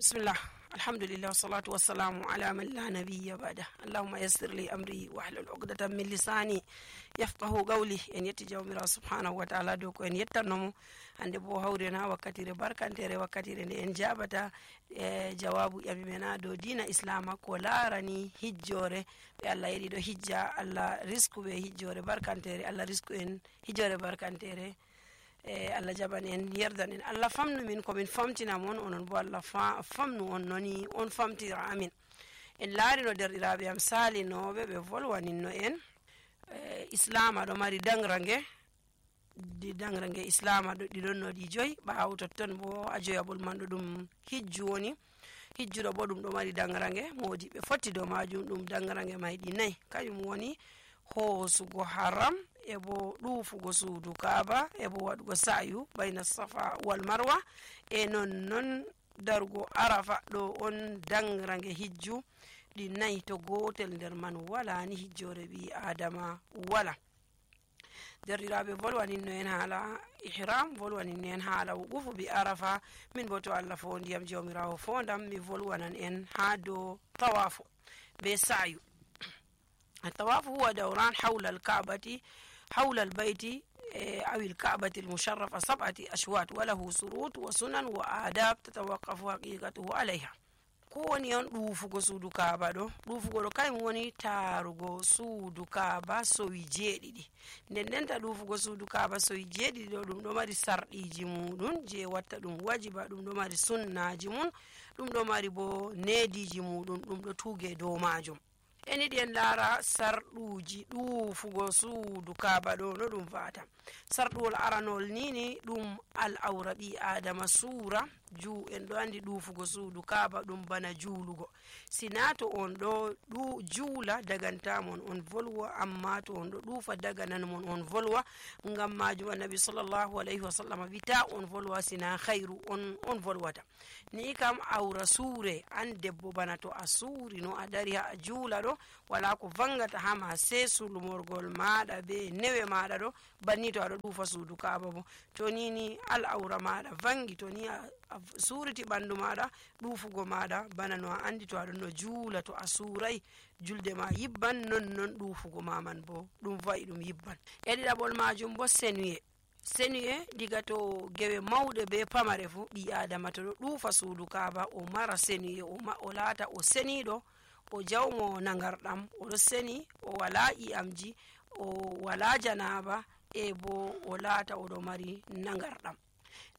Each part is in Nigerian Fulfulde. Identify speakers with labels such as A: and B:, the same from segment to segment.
A: Bismillah, alhamdulillah, wassalatu wassalamu ala man la nabiyya ba'da. Allahumma yassir li amri wahlul uqdatan min lisani yafqahu qawli. En yetti jawmirawo subhanahu wa ta'ala dow ko en yettannomo hande bo hawrena wakkatire barkantere, wakkatire nde en jabata jawabu ƴami men dow dina islama ko larani hijjore ɓe Allah yiɗi ɗo hijja. Allah risku ɓe hijjore barkantere, Allah risku en hijjore barkantere. Allah jaɓan en, yerdan en, Allah famnu min komin famtina mon, onon bo Allah famnu on noni on famtira amin. En laari no derɗiraɓe am salinoɓe ɓe volwaninno en islama ɗo mari dangrange islama ɗo ɗiɗon no ɗi joyi, ɓawo totton bo a joyaɓol man ɗo ɗum hijju woni. Hijjuɗo bo ɗum ɗo mari dangrange modi ɓe fotti dow majum. ɗum dangrange may ɗi nayyi, kañum woni hoosugo haram, e bo ɗuufugo suudu kaaba, e bo waɗugo sa'yu bayna safa wal marwa, e non darugo arafa. ɗo on dangrange hijju ɗi nayyi, to gotel nder man wala ni hijjore ɓi adama wala. derɗiraɓe volwaninno en haala ihram, volwaninno en haala wuqufu bi arafa. min bo to Allah fondiyam jawmirawo fondam, mi volwanan en ha dow tawafu be sa'yu. الطواف هو دوران حول البيت أو الكعبة المشرفة 7 أشواط، وله شروط وسنن وآداب تتوقف حقيقته عليها. ko woni on ɗuufugo suudu kaaba ɗo, ɗuufugo ɗo kañum woni taarugo suudu kaaba sowi 7. ndenta ɗuufugo suudu kaaba sowi 7 ɗo, ɗum ɗo mari sarɗiji muɗum je watta ɗum wajiba, ɗum ɗo mari sunnaji mum, ɗum ɗo mari bo neediji muɗum, ɗum ɗo tuuge dow majum. en yiɗi en laara sarɗuji ɗuufugo suudu kaaba ɗo no ɗum fata. sarɗuwol aranol nini ɗum al awra ɓi adama suura en ɗo andi ɗuufugo suudu kaaba ɗum bana juulugo. sina to on ɗo juula dagantamon on volwa, amma to on ɗo ɗuufa dagananmon on volwa. ngam majum annabi sallallahu alayhi wa sallam wita on volwa sina khairu on volwata. ni kam awra suure an debbo, bana to a suuri no a dari ha a juula ɗo, wala ko vangata hama se sulmorgol maɗa be newe maɗa ɗo. banni to aɗo ɗuufa suudu kaaba bo, to ni al awra maɗa vangi, to ni a suuriti ɓandu maɗa, ɗuufugo maɗa bana no a andi to aɗon no juula, to a suurai julde ma yibban, non ɗuufugo maman bo ɗum va'i ɗum yibban. e ɗiɗaɓol majum bo senuye diga to gewe mawɗe be pamare fu, ɓi adama to ɗo ɗuufa suudu kaaba o mara senuye, o laata o seniɗo, o jawmo nagarɗam, oɗo seni, o wala ƴi'amji, o wala janaba, e bo o laata oɗo mari nagarɗam.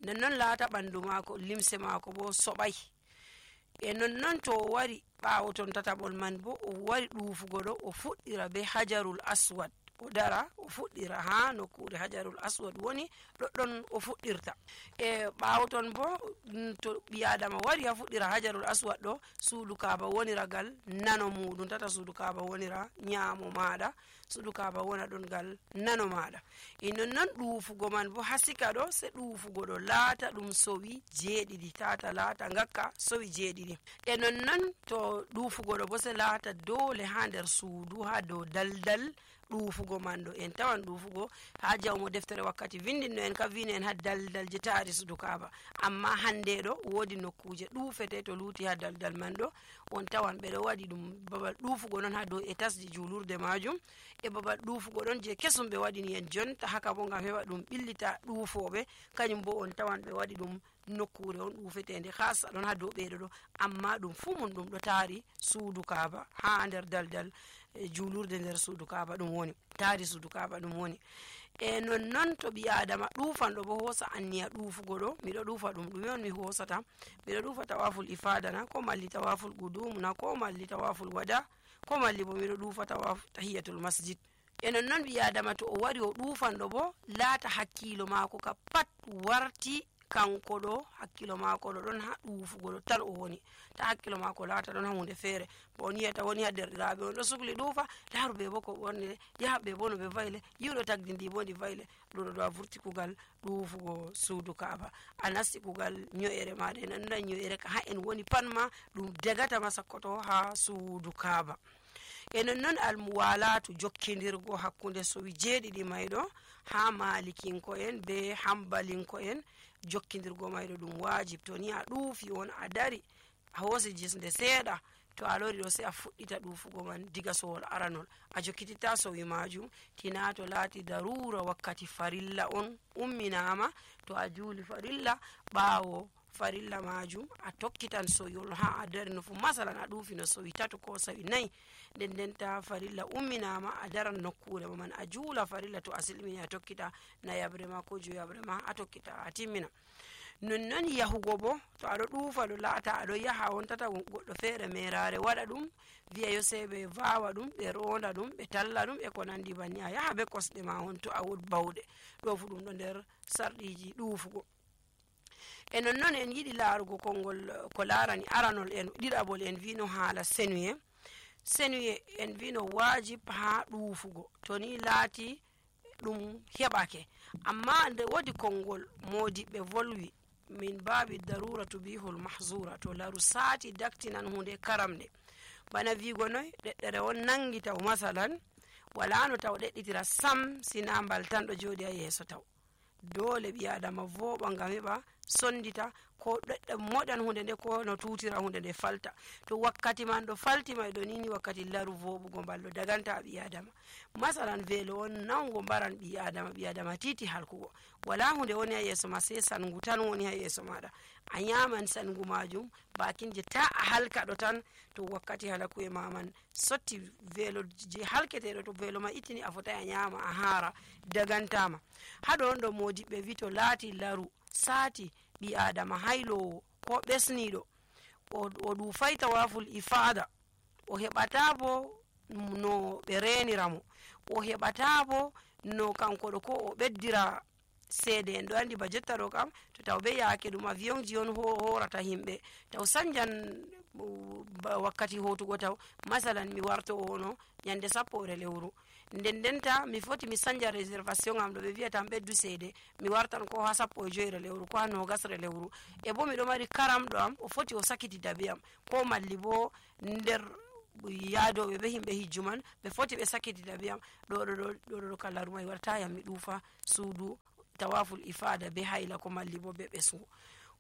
A: nonnon laata ɓandu maako, limse maako bo soɓai. e nonnon to o wari ɓaawo ton tataɓol man bo, o wari ɗuufugo ɗo, o fuɗɗira be hajarul aswad, o dara o fuɗɗira ha nokkure hajarul aswad woni ɗoɗɗon o fuɗɗirta. e ɓaawo ton bo to ɓi adama wari ha fuɗɗira hajarul aswad ɗo, suudu kaaba wonira gal nano muɗum, tata suudu kaaba wonira ñaamo maɗa, suudu kaaba wona ɗon gal nano maɗa. e nonnon ɗuufugo man bo hasika ɗo, se ɗuufugo ɗo laata ɗum sowi 7, tata laata ngakka sowi 7. e nonnon to ɗuufugo ɗo bo se laata dole ha nder suudu, ha dow daldal ɗuufugo man ɗo. en tawan ɗuufugo ha jawmo deftere wakkati vindinno en ka vino en ha daldal je taari suudu kaaba, amma hande ɗo woodi nokkuje ɗuufete to luuti ha daldal man ɗo. on tawan ɓeɗo waɗi ɗum babal ɗuufugo ɗon ha dow etasji juulurde majum, e babal ɗuufugo ɗon je kesum ɓe waɗini en jonta haka bo ngam heɓa ɗum ɓillita ɗuufoɓe, kañum bo on tawan ɓe waɗi ɗum nokkure on ɗuufetende hasa ɗon ha dow ɓeɗo ɗo, amma ɗum fu mum ɗum ɗo taari suudu kaaba ha nder daldal juulurde nder suudu kaaba ɗum woni, taari suudu kaaba ɗum woni. e nonnon to ɓi adama ɗuufanɗo bo hosa anniya ɗuufugo ɗo, miɗo ɗuufa ɗum ɗume on mi hosata, miɗo ɗuufa tawaful ifadana, ko malli tawaful gudumna, ko malli tawaful wada, ko malli bo miɗo ɗuufa tahiyatul masjid. e nonnon ɓi adama to o wari o ɗuufanɗo bo, laata hakkilo maako ka pat warti kanko ɗo, hakkilo maako ɗo ɗon ha ɗuufugo ɗo tan o woni, ta hakkilo maako laata ɗon ha hunde feere. bo on yiyata woni ha derɗiraɓe on ɗo sukli ɗuufa, laaru ɓe bo ko ɓornire, yaha ɓe bo no ɓe vayle, yiwɗo tagdi ndi bo ndi vayle. ɗum ɗo a vurti kugal ɗuufugo suudu kaaba, a nasti kugal nyo'ere maɗa. en anda nyo'ere ka ha en woni pat ma ɗum degatama sakkoto ha suudu kaaba. e nonnon almuwalatu jokkidirgo hakkunde sowi 7 mayɗo ha malikinko en be hambalinko en, jokkidirgo mayɗo ɗum wajib. to ni a ɗuufi on a dari a hosi jisde seeɗa to a lori ɗo sai a fuɗɗita ɗufugo man diga sowol aranol a jokkititta sowi majum tina to laati darura wakkati farilla on umminama to a juuli farilla ɓawo farilla majum a tokkitan soyol ha a dari no fu masalan a ɗufi no sowi tato ko sowi nayi nden ta farilla umminama a daran nokkure ma man a juula farilla to a silmini a tokkita nayabre ma ko joyabre ma a tokkita a timmina nonnon yahugo bo to aɗo ɗuufa ɗo laata aɗo yaha on tata goɗɗo feere merare waɗa ɗum wiya yo sei ɓe vawa ɗum ɓe ronda ɗum ɓe talla ɗum e ko nandi banni a yaha be kosɗe ma on to a wod bawɗe ɗo fu ɗum ɗo nder sarɗiji ɗuufugo e nonnon en yiɗi laarugo konngol ko larani aranol en ɗiɗaɓol en vino haala senuye en vino wajib ha ɗuufugo to ni laati ɗum heɓake amma nde wodi konngol modiɓɓe volwi min babi darura tubihul mahzura to laru saati daktinan hunde karamde bana wigo noy ɗeɗɗere on nangi taw masalan wala no taw ɗeɗɗitira sam sina mbal tan ɗo joɗi ha yeeso taw dole ɓi adama voɓa ngam heɓa sondita ko ɗeɗɗe moɗan hunde nde ko no tutira hunde nde falta to wakkati man ɗo faltima ɗo nini wakkati laru voɓugo mbal ɗo daganta ɓi adama masalan velo on nango mbaran ɓi adama titi halkugo wala hunde woni ha yeeso ma sai sangu tan woni ha yeeso maɗa a nyaman sangu majum bakinje ta a halka ɗo tan to wakkati halakuye ma man sotti velo je halketeɗo to velo ma ittini a fotai a nyama a haara dagantama haɗo on ɗo modiɓɓe wi to laati laru saati ɓi adama haylowo ko ɓesniɗo o ɗufai tawaful ifada o heɓata bo no ɓe reniramo o heɓata bo no kanko ɗo ko o ɓeddira seede en ɗo andi ba jotta ɗo kam to taw be yaake ɗum avion ji on horata himɓe taw sanjan wakkati hotugo taw masalan mi warto ono nyande 10 lewru ndendenta mi foti mi sanja réservation am ɗo ɓe wiyatan ɓeddu seede mi wartan ko ha 15 lewru ko ha 20 lewru e bo miɗo mari karamɗo am o foti o sakitita be am ko malli bo nder yaadoɓe be himɓe hijju man ɓe foti ɓe sakitita be am ɗo kala rumai warta yam mi ɗuufa suudu tawaful ifada be hayla ko malli bo be ɓesgu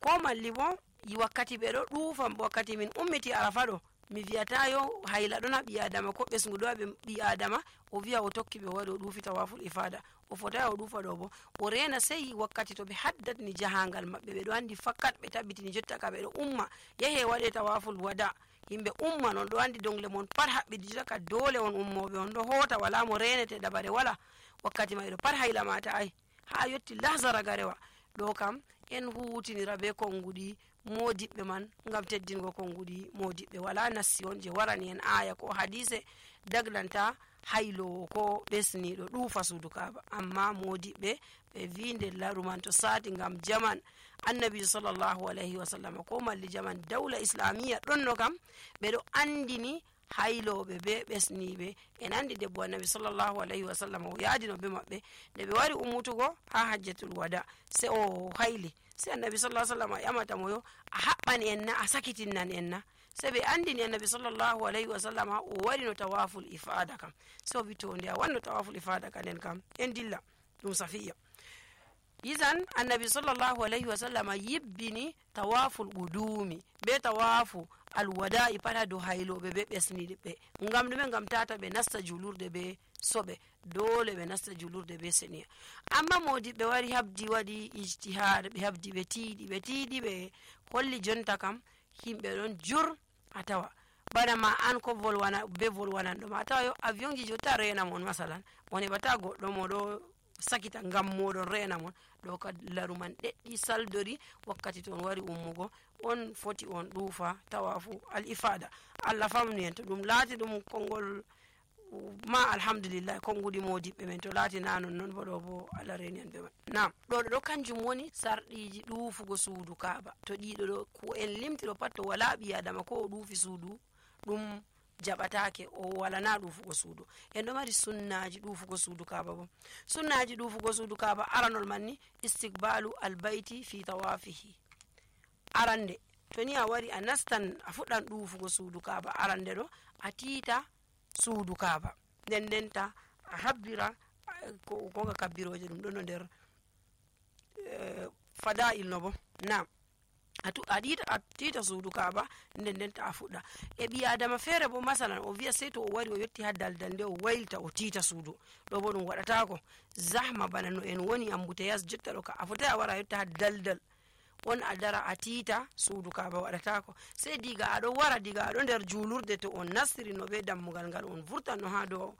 A: ko malli bo wakkati ɓe ɗo ɗuufa wakkati min ummiti arafa ɗo mi wiyata yo hayla ɗon ha ɓi adama ko ɓesgu ɗo ha ɓi adama o wiya o tokki ɓe waɗi o ɗuufi tawaful ifada o fotai o ɗuufa ɗo bo o rena sei wakkati to ɓe haddatni jahangal maɓɓe ɓe ɗo andi fakkat ɓe tabbitini jotta ka ɓe ɗo umma yahe waɗe tawaful wada yimɓe umma non ɗo andi dongle mon pat haɓɓidi jotta dole on ummoɓe on ɗo hota wala mo renete ɗaɓare wala wakkati mai ɗo pat hayla mata ai ha yotti lahzara garewa ɗo kam en hutinira be konguɗi modiɓɓe man ngam teddingo konguɗi modiɓɓe wala nassi on je warani en aya ko hadise daglanta haylowo ko ɓesniɗo ɗuufa suudu kaba amma modiɓɓe ɓe vi nder laru man to sati ngam jaman annabi sallllahu alayhi wa sallam ko malli jaman dawla islamiya ɗonno kam ɓeɗo andini hayloɓe be ɓesniɓe en andi debbo annabi sallllahu alayhi wa sallam o yaadino be maɓɓe nde ɓe wari ummutugo ha hajjatul wada se o hayli se annabi sallah sallam a ƴamatamo yo a haɓɓan en na a sakitinnan en na se ɓe andini annabi sallllahu alayhi wa sallam o warino tawaful ifada kam se o wi to nde a wanno tawaful ifada ka nden kam en dilla ɗum safiya isan annabi sallllahu alayhi wa sallam yibbini tawaful qudumi be tawafu alwada'i pat ha dow hayloɓe be ɓesniɗe ɓe ngam ɗume ngam tata ɓe nasta julurde be soɓe dole ɓe nasta julurde be seniya amma modiɓɓe wari habdi waɗi ijtihad ɓe habdi ɓe tiiɗi ɓe holli jonta kam himɓe ɗon jur a tawa bana ma an ko volwananɗo ma a tawa yo avion ji jotta rena mon masalan on heɓata goɗɗo moɗo sakita ngam moɗon rena mon ɗo ka laru man ɗeɗɗi saldori wakkati to on wari ummugo on foti on ɗuufa tawafu al ifada allah famni en to ɗum laati ɗum konngol ma alhamdulillah konguɗi modiɓɓe men to laati na non bo ɗo bo allah reni en ɓe man nam ɗo kanjum woni sarɗiji ɗuufugo suudu kaaba to ɗiɗo ɗo ko en limtiɗo pat to wala ɓi adama ko o ɗuufi suudu ɗum jaɓatake o walana ɗuufugo suudu en ɗo mari sunnaji ɗuufugo suudu kaaba bo sunnaji ɗuufugo suudu kaaba aranol man ni istiqbalu albayti fi tawafihi arande to ni a wari a nastan a fuɗɗan ɗuufugo suudu kaaba arande ɗo a tiita suudu kaaba ndendenta a habbira koga kabbiroje ɗum ɗo no nder fada'il no bo nam a tiita suudu kaaba nden ta a fuɗɗa e ɓi adama feere bo masalan o wiya sey to o wari o yetti ha daldal nde o waylita o tiita suudu ɗo bo ɗum waɗatako zahma bana no en woni ambuteyas jotta ɗo ka a fotai a wara a yetta ha daldal on a dara a tiita suudu kaaba waɗatako sey diga aɗo wara diga aɗo nder julurde to on nastiri no be dammugal ngal on vurtan no ha dow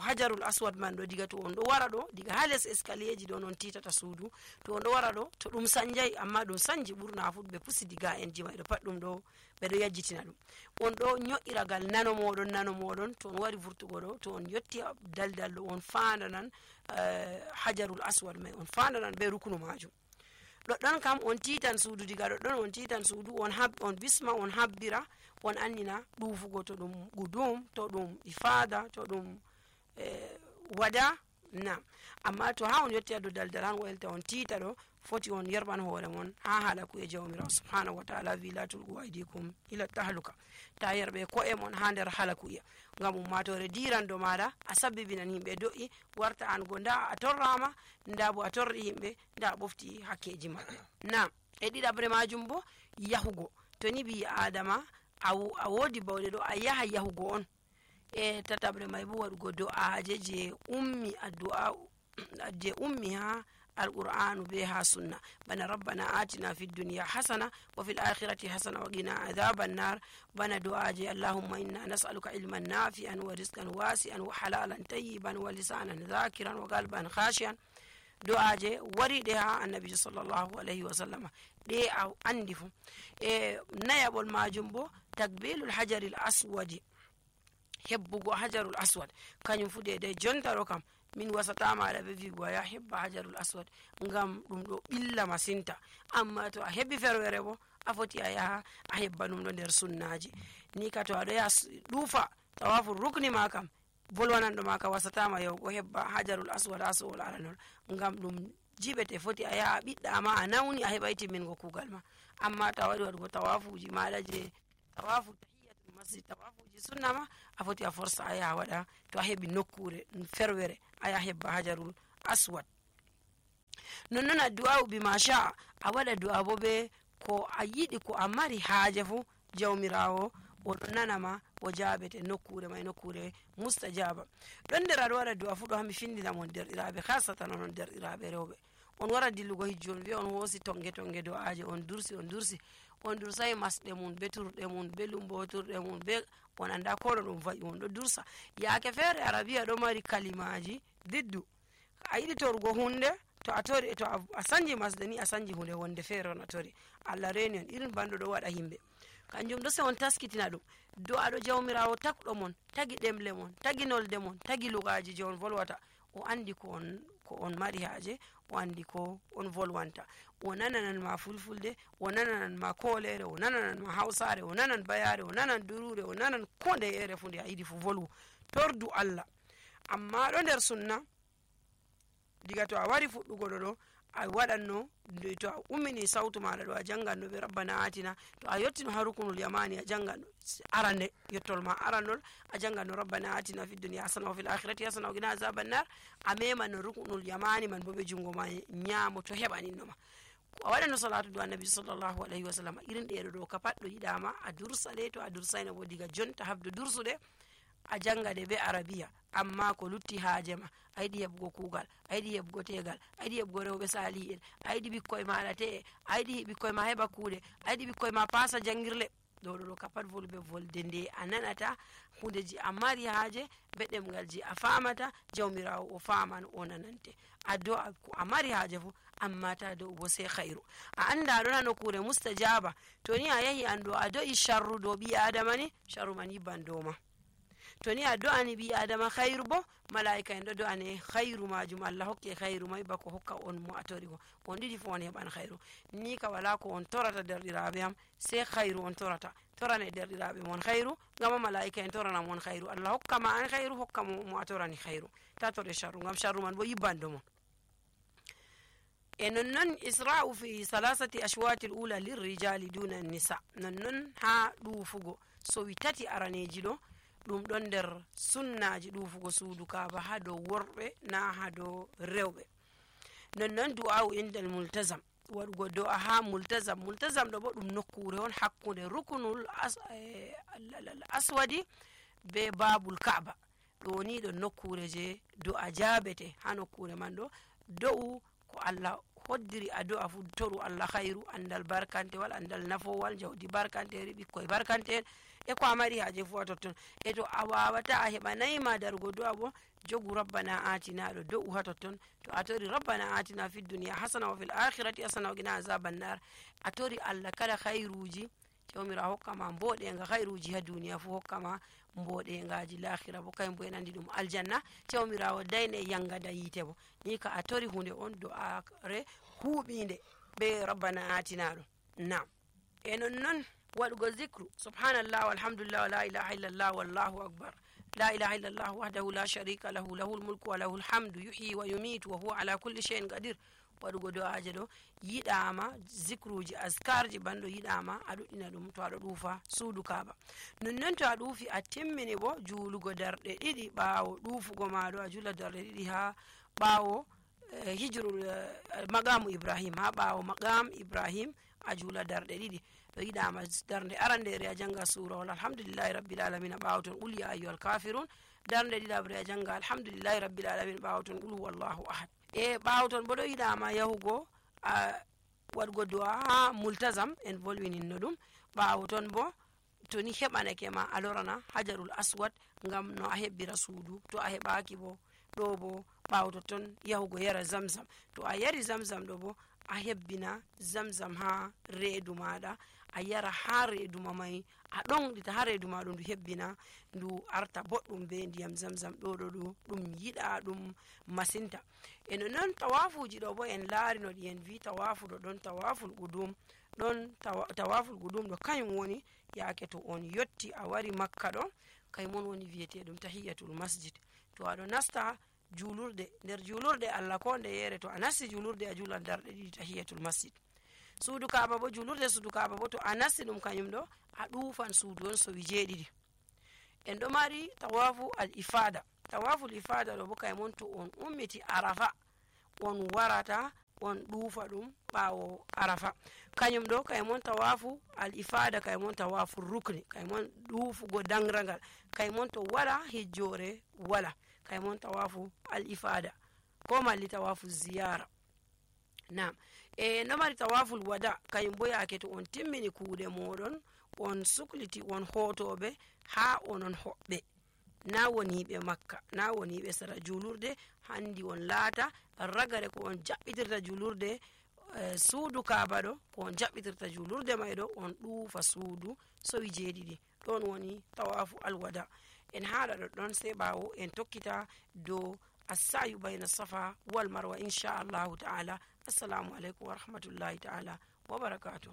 A: hajarul aswad man ɗo diga to on ɗo wara ɗo diga ha les escalier ji ɗo non titata suudu to on ɗo wara ɗo to ɗum sanjay amma ɗum sanji ɓurna fu ɓe pusi diga en ji mai ɗo pat ɗum ɗo ɓeɗo yajjitina ɗum on ɗo nyo'iragal nano moɗon to on wari vurtugo ɗo to on yetti daldal ɗo on fandanan hajarul aswad mai on fandanan be rukunu majum ɗoɗɗon kam on titan suudu diga ɗoɗɗon on titan suudu on bisma on habbira on annina ɗufugo to ɗum gudum to ɗum ifada to ɗum wada na amma to ha on yetti ado daldal han waylta on tiita ɗo foti on yerɓan hoore mon ha halaku e jawmirawo subhanahu wa taala wi la tulgu aydikum ila tahluka ta yerɓe ko'e mon ha nder halaku iya ngam ummatore dirando maɗa a sabbibinan yimɓe do'i warta an go nda a torrama nda bo a torri yimɓe nda a ɓofti hakkeji maɓɓe na e ɗiɗabre majum bo yahugo to ni ɓi adama a wodi bawɗe ɗo a yaha yahugo on e tatabre may bo waɗugo do'aje je ummi ha alqur'anu be ha sunna bana rabbana atina fi dunya hasana wa fil akhirati hasana wa qina adhaban nar bana du'aje allahumma inna nas'aluka ilman nafi'an wa rizqan wasi'an wa halalan tayyiban wa lisanan dhakiran wa qalban khashian du'aje wariɗe ha annabi sallallahu alaihi wa sallama ɗe a andi fu e nayaɓol majum bo takbilul hajaril aswadi hebbugo hajarul aswad kañum fu de jontaro kam min wasatama aɗa ɓe wigo ya hebba hajarul aswad ngam ɗum ɗo ɓilla masinta amma to a heɓi ferwere bo a foti a yaha a hebba ɗum ɗo nder sunnaji ni ka to aɗo yaha ɗuufa tawafu rukni ma kam bolwananɗo ma ka wasatama yahugo hebba hajarul aswad ha sowol aranol ngam ɗum jiɓete foti a yaha a ɓiɗɗama a nawni a heɓa timmingo kugal ma amma ta waɗi waɗugo tawafuji maɗa je tawafu tahiyatul masjid tawafuji sunna ma a foti a forsa a yaha waɗa to a heɓi nokkure ferwere a yaha hebba hajarul aswad nonnon a du'a'u bima sha'a a waɗa du'a bo be ko a yiɗi ko a mari haaje fu jawmirawo oɗo nanama o jaabete nokkure may nokkure mustajaba ɗon nder aɗo waɗa du'a fu ɗo hami findinamon derɗiraɓe hasatan onon derɗiraɓe rewɓe on wara dillugo hijju on wiya on hoosi tonge do'aje on dursai masɗe mum be turɗe mum be lumboturɗe mum be on anda kono ɗum va'i on ɗo dursa yaake feere arabiya ɗo mari kalimaji diddu a yiɗi torugo hunde to a tori to a sanji masde ni a sanji hunde wonde feere on a tori allah reni on irin banɗo ɗo waɗa yimɓe kanjum ɗo se on taskitina ɗum do aɗo jawmirawo takɗo mon tagi ɗemle mon tagi nolde mon tagi lugaji je on volwata o andi ko on mari haaje o andi ko on volwanta o nananan ma fulfulde o nananan ma kolere o nananan ma hausare o nanan bayare o nanan durure o nanan ko nde ere fu nde a yiɗi fu volwu tordu allah amma ɗo nder sunna diga to a wari fuɗɗugo ɗo a waɗanno to a ummini sautu maɗa ɗo a janganno ɓe rabbana atina to a yettino ha rukunul yamani a janganno arande yettol ma arandol a janganno rabbana atina fi dunya hasana wa fil akhirati hasana wa qina azaban nar a memanno rukunul yamani man bo ɓe jungo ma ñaamo to heɓaninno ma a waɗanno salatu do annabi sallllahu alayhi wa sallam irin ɗeɗo ɗo ka pat ɗo yiɗama a dursa ɗe to a dursayno bo diga jonta habde dursuɗe a jangade be arabiya amma ko lutti haaje ma a yiɗi heɓugo kuugal a yiɗi heɓugo tegal a yiɗi heɓugo rewɓe sali'en a yiɗi ɓikkoye maɗa te'e a yiɗi ɓikkoye ma heɓa kuuɗe a yiɗi ɓikkoye ma pasa jangirle ɗo ka pat volɓe volde nde a nanata hundeji a mari haaje be ɗemgal ji a famata jawmirawo o faman o nanante a do'a ko a mari haaje fu amma ta do'u bo sey hayru a anda ɗon ha nokkure mustajaba to ni a yahi an ɗo a do'i sharru dow ɓi adama ni sharru man yibban dow ma to ni a do'ani ɓi adama hayru bo malaika en ɗo do'ane hayru majum allah hokke hayru may bako hokka on mo a tori ko on ɗiɗi fo on heɓan hayru ni ka wala ko on torata derɗiraɓe am sey hayru on torane derɗiraɓe mon hayru ngama malaika en torana mon hayru allah hokka ma an hayru hokka mo a torani hayru ta tore sharru ngam sharru man bo yibbando mon e nonnon isra'u fi salasati ashwati l'ula lirrijali duna nisa nonnon ha ɗufugo sowi tati araneji ɗo ɗum ɗon nder sunnaji ɗufugo suudu kaaba ha dow worɓe na ha dow rewɓe nonnon du'a'u indal multazam waɗugo do'a ha multazam. Multazam ɗo bo ɗum nokkure on hakkunde rukunul aswadi be babul ka'aba. ɗo ni ɗo nokkure je do'a jabete. Ha nokkure man ɗo do'u ko Allah hoddiri a do'a fu toru Allah khairu, andal barkantewal, andal nafowal, jawdi barkanteri, ɓikkoy barkante'en e ko a mari haje fu a totton. E to a wawata a heɓanayima darugo do'a bo jogu rabbana atina ɗo do'u ha totton. To a tori rabbana atina fid duniya hasana wa fil akhirati hasana wa qina azaban nar, a tori Allah kala khairuji jawmirawo hokkama mboɗenga, khairuji ha duniya fu hokkama mboɗengaji lahira bo kayum bo en andi ɗum aljanna. jawmirawo dayne yangada yite bo, ni ka a tori hunde on do'are huuɓinde be rabbana atina ɗo. Nam e non waɗugo zicru subhanallah walhamdulillah wa la ilaha illallah wallahu akbar, la ilaha illallah wahdahu la sharika lahu, lahul mulku wa lahul hamdu, yuhyi wa yumitu wa huwa ala kulli shay'in qadir. waɗugo do'aje ɗo yiɗama, zicruji askarji banɗo yiɗama a ɗuɗɗina ɗum to aɗo ɗuufa suudu kaaba. nonnon to a ɗuufi a timmini bo juulugo darɗe ɗiɗi ɓaawo ɗuufugo maɗo, a jula darɗe ɗiɗi ha ɓaawo hijrul maqamu ibrahim, ha ɓaawo maqam ibrahim a juula darɗe ɗiɗi. ɗo yiɗama darde arandere a janga surawol alhamdulillahi rabbil alamin, a ɓaawo ton qul ya ayyuhal kafirun. darde ɗiɗabre a janga alhamdulillahi rabbil alamin, ɓaawo ton qul huwallahu ahad. e ɓaawo ton bo ɗo yiɗama yahugo waɗugo do'a ha multazam, en volwininno ɗum. ɓaawo ton bo to ni heɓanake ma a lorana hajarul aswad ngam no a hebbira suudu. to a heɓaki bo ɗo bo ɓaawo totton yahugo yara zamzam. to a yari zamzam ɗo bo a hebbina zamzam ha reedu maɗa, a yara ha reedu ma mai, a ɗonɗita ha reedu ma ɗum ndu hebbina ndu arta boɗɗum be ndiyam zamzam. ɗo ɗum yiɗa ɗum masinta. e no non tawafuji ɗo bo en laari no ɗi en vi tawafu ɗo ɗon tawaful qudum, ɗon tawaful qudum ɗo kañum woni yaake to on yotti a wari makka ɗo, kaymon woni wiyeteɗum tahiyatul masjid. to aɗo nasta julurde, nder julurde Allah ko nde yere to a nasti julurde a julan darɗe ɗiɗi tahiyatul masjid. suudu kaaba bo julurde suudu kaaba bo to a nasti ɗum kañum ɗo a ɗuufan suudu on sowi jeeɗiɗi. en ɗo mari tawafu al ifada. tawaful ifada ɗo bo kaymon to on ummiti arafa on warata on ɗuufa ɗum ɓaawo arafa. kañum ɗo kaymon tawafu al ifada, kaymon tawafu rukni, kaymon ɗuufugo dangragal, kaymon to wala hijjore wala, kaymon tawafu al ifada ko malli tawafu ziyara. nam e no mari tawaful wada, kañum bo yaake to on timmini kuuɗe moɗon on sukliti on hotoɓe ha onon hoɓɓe, na woniɓe makka, na woniɓe sara julurde, handi on laata ragare ko on jaɓɓitirta julurde suudu kaaba ɗo, ko on jaɓɓitirta julurde may ɗo on ɗuufa suudu sowi jeeɗiɗi. ɗon woni tawafu alwada. en haɗa ɗoɗɗon sey ɓaawo en tokkita dow assayu bayna safa wal marwa inchallahu ta'ala. assalamu aleykum wa rahmatullahi ta'ala wa barakatuh.